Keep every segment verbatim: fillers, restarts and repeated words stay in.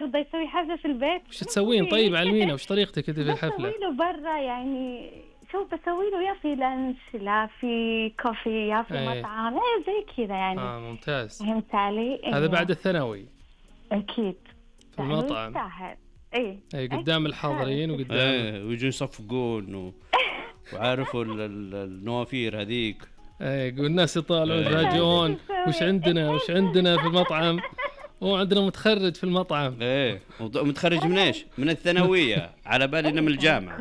يرضى يسوي حفلة في البيت؟ وش تسوين طيب علمينا وش طريقتك أنت في الحفلة؟ بسوي له برا يعني، شوف بسوي له يا في لانش لا في كوفي يا في أيه. مطعم ايه زي كذا يعني. آه ممتاز. فهمت علي؟ هذا إيه. بعد الثانوي أكيد في المطعم. يستاهل. إيه أي قدام الحاضرين وقدام ايه ويجوا يصفقون و... وعارفوا ال- ال- النوافير هذيك. اي والناس يطالعون إيه. يتفاجئون وش عندنا وش عندنا في المطعم. هو عندنا متخرج في المطعم. ايه وط- متخرج من ايش؟ من الثانويه على بالي انه من الجامعه.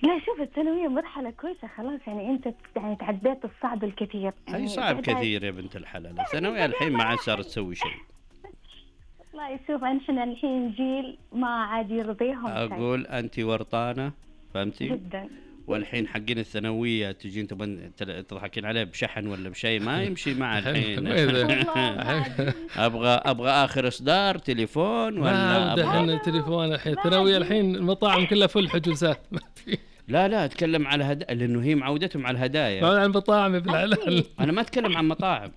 لا شوف الثانوية مرحلة كويسة خلاص يعني أنت يعني تعديت الصعب الكثير. اي يعني صعب بعد- كثير يا بنت الحلال. الثانويه الحين ما عاد صارت تسوي شيء. والله يشوف احنا الحين جيل ما عاد يرضيهم شيء. اقول انت ورطانه فهمتي؟ جدا. والحين حقين الثانويه تجين تبين تل- تضحكين عليه بشحن ولا بشيء ما يمشي مع الحين. ابغى ابغى اخر اصدار تليفون ما ولا عودة أبغى... احنا التليفون الحين الثانوية الحين المطاعم كلها فل حجوزات ما في. لا لا اتكلم على هدايا لانه هي معودتهم على الهدايا. ما عن المطاعم بالحلال. انا ما اتكلم عن مطاعم.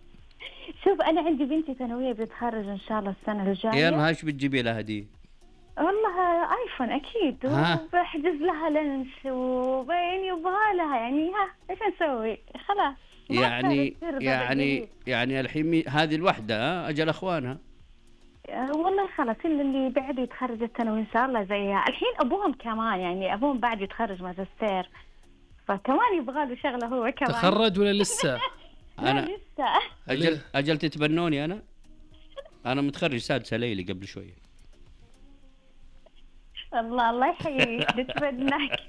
شوف أنا عندي بنتي ثانوية بتتخرج إن شاء الله السنة الجاية. يلا هاش بتجيبي لها هديه؟ والله آيفون أكيد ها؟ وبحجز لها لنش وبين يبغى لها يعني ها إيش نسوي خلاص. ما يعني صار يصير يعني بدل يعني الحين مي- هذه الوحده ها اجل اخوانها. آه، والله خلاص اللي اللي بعد يتخرج الثانوي إن شاء الله زيها. الحين أبوهم كمان يعني أبوهم بعد يتخرج ماجستير فكمان يبغى له شغلة هو كمان. تخرج ولا لسه؟ لا انا لسه. اجل اجل تتبنوني انا. انا متخرج سادسه ليلي قبل شويه. الله الله يحييك نتمناك.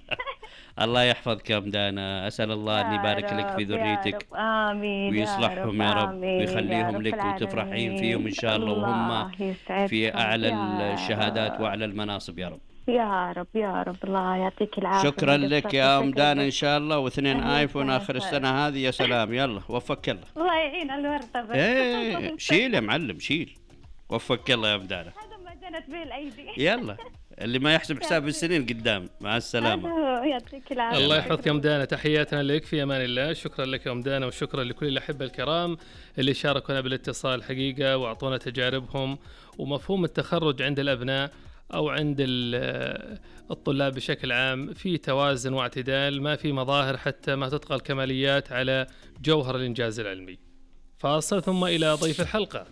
الله يحفظك يا مدانا. اسال الله ان يبارك لك في ذريتك آمين ويصلحهم يا رب آمين ويخليهم يا لك رب وتفرحين العالمين. فيهم ان شاء الله وهم يسعدكم في اعلى يا الشهادات رب. واعلى المناصب يا رب. يا رب يا رب الله يعطيك العافية. شكرا لك يا ام دانا ان ان شاء الله واثنين أهلا ايفون اخر وسهلا. السنه هذه. يا سلام يلا وفقك الله. الله يعين الورطة بس. ايه شيل يا معلم شيل. وفقك الله يا ام دانا. هذا ما جنت به الايدي. يلا اللي ما يحسب حساب السنين قدام. مع السلامه. هذا هو، يعطيك العافية. الله يحفظك يا ام دانا. تحياتنا لك في امان الله. شكرا لك يا ام دانا وشكرا لكل الاحبه الكرام اللي شاركونا بالاتصال حقيقه واعطونا تجاربهم ومفهوم التخرج عند الابناء او عند ال- الطلاب بشكل عام في توازن واعتدال. ما في مظاهر حتى ما تطغى الكماليات على جوهر الانجاز العلمي. فاصل ثم الى ضيف الحلقه.